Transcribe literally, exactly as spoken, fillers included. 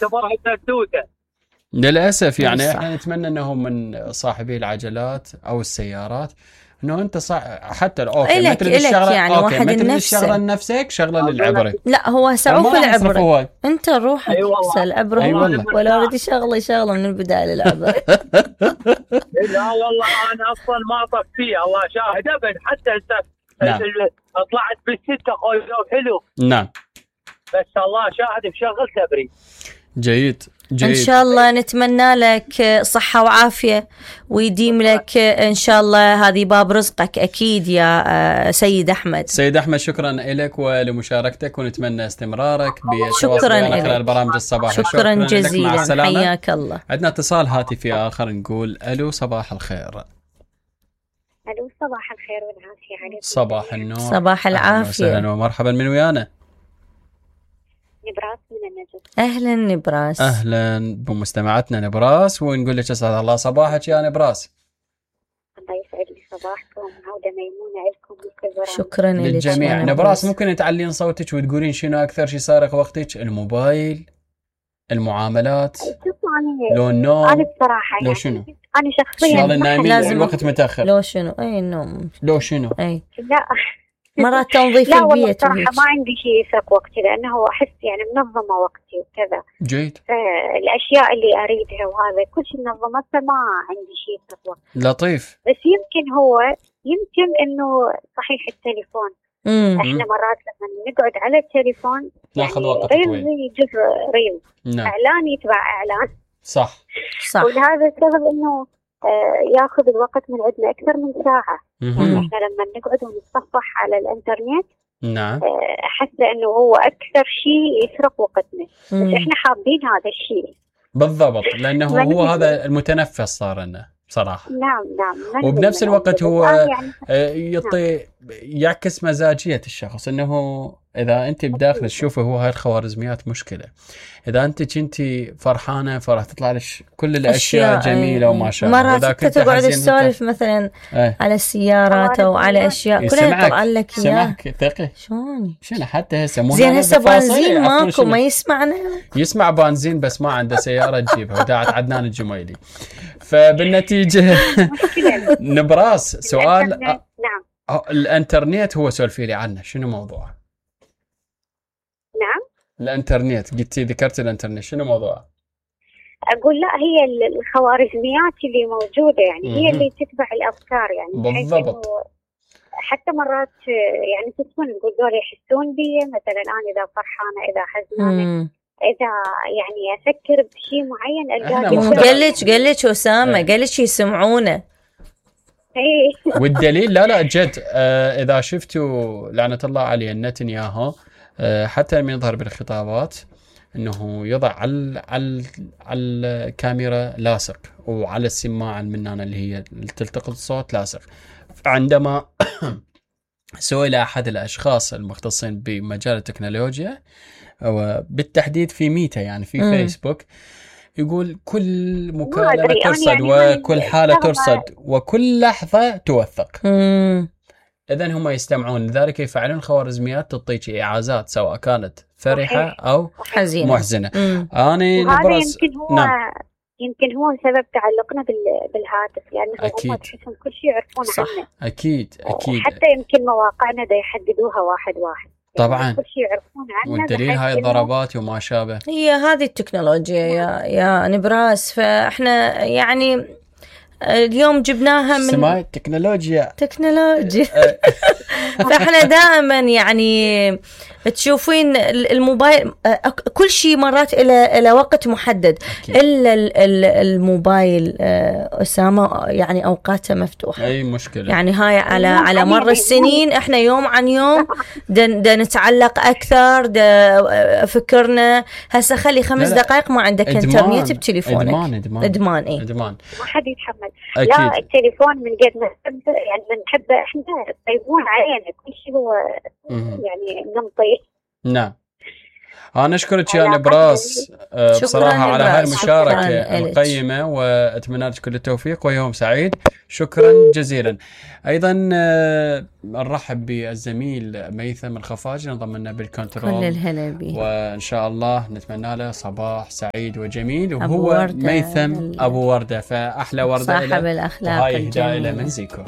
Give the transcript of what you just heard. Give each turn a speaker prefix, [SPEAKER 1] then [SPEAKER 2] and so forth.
[SPEAKER 1] اعتبرها سردوته.
[SPEAKER 2] للاسف يعني
[SPEAKER 3] صح.
[SPEAKER 2] احنا نتمنى انهم من صاحبي العجلات او السيارات انه انت صح حتى اوكي
[SPEAKER 3] إلك-
[SPEAKER 2] مثل
[SPEAKER 3] إلك
[SPEAKER 2] الشغله
[SPEAKER 3] يعني
[SPEAKER 2] اوكي
[SPEAKER 3] واحد
[SPEAKER 2] مثل
[SPEAKER 3] لنفسه.
[SPEAKER 2] الشغله لنفسك شغله
[SPEAKER 1] أقول لك-
[SPEAKER 2] للعبره.
[SPEAKER 3] لا هو
[SPEAKER 2] ما
[SPEAKER 3] سعوف
[SPEAKER 2] راح يصرفوا
[SPEAKER 3] العبرة،
[SPEAKER 2] وايد.
[SPEAKER 3] انت روحك
[SPEAKER 1] أي والله.
[SPEAKER 3] هسه العبرة
[SPEAKER 2] أي
[SPEAKER 3] هو
[SPEAKER 2] والله.
[SPEAKER 3] ولا اوريدي شغله شغله من البدايه للعبرة.
[SPEAKER 1] لا والله انا اصلا ما اطق فيها، الله شاهد ابد. حتى انت
[SPEAKER 2] نعم.
[SPEAKER 1] ال- طلعت بالستة خوي حلو،
[SPEAKER 2] نعم
[SPEAKER 1] بس الله شاهد بشغل تبري.
[SPEAKER 2] جيد جيد
[SPEAKER 3] ان شاء الله نتمنى لك صحة وعافية ويديم لك ان شاء الله، هذه باب رزقك اكيد يا سيد احمد.
[SPEAKER 2] سيد احمد شكرا لك ولمشاركتك ونتمنى استمرارك
[SPEAKER 3] شكراً
[SPEAKER 2] بتواصل معنا
[SPEAKER 3] إلك.
[SPEAKER 2] خلال برامج الصباح.
[SPEAKER 3] شكرا
[SPEAKER 2] لك، مع
[SPEAKER 3] جزيلا،
[SPEAKER 2] السلامة.
[SPEAKER 3] حياك الله.
[SPEAKER 2] عندنا اتصال هاتفي اخر نقول الو صباح الخير.
[SPEAKER 4] الو صباح الخير والعافيه عليكم.
[SPEAKER 2] صباح النور.
[SPEAKER 3] صباح
[SPEAKER 2] أهلاً
[SPEAKER 3] العافية.
[SPEAKER 2] وسهلا ومرحبا من ويانا.
[SPEAKER 4] نبراس من النجف.
[SPEAKER 3] اهلا نبراس.
[SPEAKER 2] اهلا بمستمعتنا نبراس ونقول لك اسعد الله صباحك يا نبراس.
[SPEAKER 4] الله يسعد لي صباحكم، عودة ميمونة لكم بكل برامج.
[SPEAKER 3] شكرا لك
[SPEAKER 2] للجميع.
[SPEAKER 3] يا
[SPEAKER 2] نبراس ممكن تعلين صوتك وتقولين شنو اكثر شيء سارق وقتك؟ الموبايل، المعاملات،
[SPEAKER 4] شوفوا أنا
[SPEAKER 2] لو النوم،
[SPEAKER 4] أنا بصراحة
[SPEAKER 2] لو
[SPEAKER 4] يعني
[SPEAKER 2] شنو؟
[SPEAKER 4] أنا شخصيا
[SPEAKER 2] شغل النايمين
[SPEAKER 3] لازم-
[SPEAKER 2] الوقت متاخر،
[SPEAKER 3] لو شنو اي النوم
[SPEAKER 2] لو شنو؟
[SPEAKER 3] اي
[SPEAKER 4] لا
[SPEAKER 3] مرات تنظيف
[SPEAKER 4] لا والله
[SPEAKER 3] البيت
[SPEAKER 4] بصراحة
[SPEAKER 3] وهيك.
[SPEAKER 4] ما عندي شيء يسرق وقتي، لأنه أحس يعني منظمة وقتي وكذا،
[SPEAKER 2] جيد
[SPEAKER 4] فالأشياء اللي أريدها وهذا كل شيء منظمة، فما عندي شيء يسرق وقتي.
[SPEAKER 2] لطيف.
[SPEAKER 4] بس يمكن هو يمكن إنه صحيح التليفون،
[SPEAKER 3] امم
[SPEAKER 4] إحنا مرات لما نقعد على التليفون
[SPEAKER 2] ناخذ وقت
[SPEAKER 4] ريل
[SPEAKER 2] طويل.
[SPEAKER 4] يجر ريل،
[SPEAKER 2] نعم
[SPEAKER 4] إعلان يتبع إعلان،
[SPEAKER 2] صح
[SPEAKER 3] صح.
[SPEAKER 4] ولهذا السبب انه آه ياخذ الوقت من عندنا اكثر من ساعه. يعني
[SPEAKER 2] مهم.
[SPEAKER 4] احنا لما نقعد ونتصفح على الانترنت
[SPEAKER 2] نعم
[SPEAKER 4] آه احس انه هو اكثر شيء يسرق وقتنا، بس
[SPEAKER 3] مم.
[SPEAKER 4] احنا حابين هذا الشيء.
[SPEAKER 2] بالضبط، لانه
[SPEAKER 4] ما
[SPEAKER 2] هو
[SPEAKER 4] ندري.
[SPEAKER 2] هذا المتنفس صار لنا بصراحه.
[SPEAKER 4] نعم نعم. ما
[SPEAKER 2] وبنفس
[SPEAKER 4] ندري من
[SPEAKER 2] الوقت
[SPEAKER 4] عندنا.
[SPEAKER 2] هو
[SPEAKER 4] الآن يعني
[SPEAKER 2] آه، يعطي يعكس مزاجية الشخص، انه اذا انت بداخل تشوفه هو هاي الخوارزميات مشكلة. اذا انت كنتي فرحانة فراح تطلع لك كل الاشياء
[SPEAKER 3] أشياء،
[SPEAKER 2] جميلة
[SPEAKER 3] أي-
[SPEAKER 2] وما
[SPEAKER 3] أي.
[SPEAKER 2] شابه.
[SPEAKER 3] مرات
[SPEAKER 2] وإذا
[SPEAKER 3] انت
[SPEAKER 2] كنت
[SPEAKER 3] تقعد
[SPEAKER 2] حزين
[SPEAKER 3] تسولف مثلا
[SPEAKER 2] ايه
[SPEAKER 3] على السيارات او على اشياء كلها يطلع لك اياه.
[SPEAKER 2] سمعك ثقي
[SPEAKER 3] شلون
[SPEAKER 2] شنو حتى هسه مو
[SPEAKER 3] زين
[SPEAKER 2] هذا
[SPEAKER 3] هسه
[SPEAKER 2] بالفاصل
[SPEAKER 3] بنزين
[SPEAKER 2] يعرفون
[SPEAKER 3] ماكو
[SPEAKER 2] شنو.
[SPEAKER 3] ما يسمعنا.
[SPEAKER 2] يسمع بنزين بس ما عنده سيارة تجيبها وداعت عدنان الجميلي. فبالنتيجة
[SPEAKER 4] مشكلة.
[SPEAKER 2] نبراس سؤال
[SPEAKER 4] الإنترنت، نعم
[SPEAKER 2] أه، الانترنت هو سولفي لي عنه شنو موضوعه؟
[SPEAKER 4] نعم.
[SPEAKER 2] الانترنت قلتي ذكرت الانترنت شنو موضوعه؟
[SPEAKER 4] اقول لا، هي ال- الخوارزميات اللي موجوده يعني هي
[SPEAKER 2] مهم.
[SPEAKER 4] اللي تتبع الافكار، يعني بحيث
[SPEAKER 2] بالضبط.
[SPEAKER 4] إنه حتى مرات آه، يعني تكون نقول دول يحسون بي، مثلا انا اذا فرحانه اذا حزنانه
[SPEAKER 3] مم.
[SPEAKER 4] اذا يعني افكر بشيء معين
[SPEAKER 2] إحنا
[SPEAKER 4] القاه
[SPEAKER 2] مختلف.
[SPEAKER 3] قال لك قال لك اسامه
[SPEAKER 2] إيه.
[SPEAKER 3] قال لك يسمعونه.
[SPEAKER 4] ايه
[SPEAKER 2] والدليل لا لا جد آه اذا شفتوا لعنة الله عليه نتنياهو آه حتى لما يظهر بالخطابات انه يضع على على على الكاميرا لاصق وعلى السماعه المنانه اللي هي تلتقط الصوت لاصق. عندما سئل احد الاشخاص المختصين بمجال التكنولوجيا وبالتحديد في ميتا يعني في
[SPEAKER 3] مم.
[SPEAKER 2] فيسبوك يقول كل
[SPEAKER 4] ما
[SPEAKER 2] مكالمة
[SPEAKER 4] أدري، أنا
[SPEAKER 2] ترصد
[SPEAKER 4] يعني ما
[SPEAKER 2] وكل
[SPEAKER 4] عندي
[SPEAKER 2] حالة
[SPEAKER 4] أشتغل
[SPEAKER 2] ترصد وكل لحظة توثق.
[SPEAKER 3] مم.
[SPEAKER 2] إذن هم يستمعون لذلك يفعلون خوارزميات تعطيك إعازات سواء كانت فرحة
[SPEAKER 4] صحيح.
[SPEAKER 2] أو
[SPEAKER 3] حزينه.
[SPEAKER 2] محزنة.
[SPEAKER 3] مم.
[SPEAKER 2] أنا
[SPEAKER 4] وهذا
[SPEAKER 2] نبرز
[SPEAKER 4] يمكن هو
[SPEAKER 2] نعم
[SPEAKER 4] يمكن هو سبب تعلقنا بال- بالهاتف، لانه
[SPEAKER 2] أكيد.
[SPEAKER 4] هم تحسهم كل شيء يعرفون
[SPEAKER 3] صح.
[SPEAKER 4] عنه.
[SPEAKER 2] أكيد أكيد
[SPEAKER 4] حتى يمكن مواقعنا دا يحددوها واحد واحد، يعني
[SPEAKER 2] طبعاً.
[SPEAKER 4] كل شيء يعرفون عنه.
[SPEAKER 2] والدليل
[SPEAKER 4] بحيث
[SPEAKER 2] هاي
[SPEAKER 4] إنه
[SPEAKER 2] الضربات وما شابه.
[SPEAKER 3] هي هذه التكنولوجيا يا يا نبراس، فاحنا يعني اليوم جبناها من
[SPEAKER 2] سماي تكنولوجيا
[SPEAKER 3] تكنولوجيا. فاحنا دائما يعني تشوفين الموبايل كل شيء مرات الى الى وقت محدد
[SPEAKER 2] أكيد.
[SPEAKER 3] الا ال- ال- الموبايل آه، اسامه يعني اوقاته مفتوحه.
[SPEAKER 2] أي مشكلة
[SPEAKER 3] يعني هاي على
[SPEAKER 4] يوم
[SPEAKER 3] على
[SPEAKER 4] عن
[SPEAKER 3] مر
[SPEAKER 4] يوم.
[SPEAKER 3] السنين احنا يوم عن يوم دا, دا نتعلق اكثر، دا فكرنا هسه خلي خمس
[SPEAKER 2] لا لا.
[SPEAKER 3] دقائق ما عندك
[SPEAKER 2] إدمان.
[SPEAKER 3] انترنت بتليفونك.
[SPEAKER 2] إدمان إدمان
[SPEAKER 3] ادمان اي
[SPEAKER 2] إدمان
[SPEAKER 4] ما حد يتحمل. لا
[SPEAKER 2] أكيد.
[SPEAKER 4] التليفون من قد ما نحب يعني بنحبه احنا يطيبون علينا كل شيء، هو
[SPEAKER 2] مهم.
[SPEAKER 4] يعني نمطي.
[SPEAKER 2] نعم انا اشكرك يا نبراس آه بصراحه على هاي المشاركه القيمه، واتمنى لك كل التوفيق ويوم سعيد. شكرا جزيلا. ايضا آه نرحب بالزميل ميثم الخفاجي انضم لنا بالكنترول،
[SPEAKER 3] كل الهلا بيه،
[SPEAKER 2] وان شاء الله نتمنى له صباح سعيد وجميل. وهو ميثم ابو ورده، فاحلى ورده
[SPEAKER 3] صاحب الاخلاق
[SPEAKER 2] الجميله، هاي هدايه من زيكو.